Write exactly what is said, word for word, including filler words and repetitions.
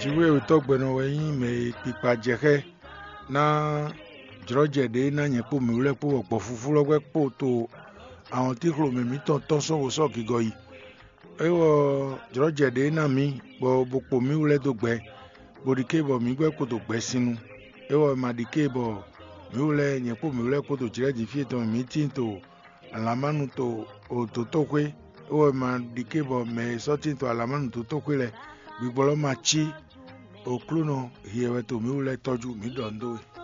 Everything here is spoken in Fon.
Jǐwéwětɔ́ gbɛnɔ wɛ nyí mɛ e kpikpa jɛ xá ná jlɔ́jɛ ɖě ná nyɛ kpó mǐwú lɛ́ɛ kpó bɔ gbɔ̌fúfú lɔ́ gbɛ́ kpo to awɔntíxlomɛ mǐtɔn tɔn sɔ́ bó sɔ́ gigɔ yi. É wɔ jlɔ́jɛ ɖě ná mǐ bɔ bó kpo mǐwú lɛ́ɛ dó gbɛ, bó ɖi ké bɔ mǐ gbɛ́ kpo dó gbɛ sin nu. É wɔ è ma ɖi ké bɔ mǐwú lɛ́ɛ nyɛ kpó mǐwú lɛ́ɛ kpódó jlɛ̌ din fí e tɔn mǐ tíin to alǎmánu to dǒtoxwé. É wɔ è ma ɖi ké bɔ mɛ e sɔ́ tíin to alǎmánu dǒtoxwé lɛ́ɛ gbigbɔ lɔ ma cí Oklúnɔ hiɛ wɛ to mǐ wú lɛ́ɛ tɔ́jú mǐ ɖɔ nǔ dó we.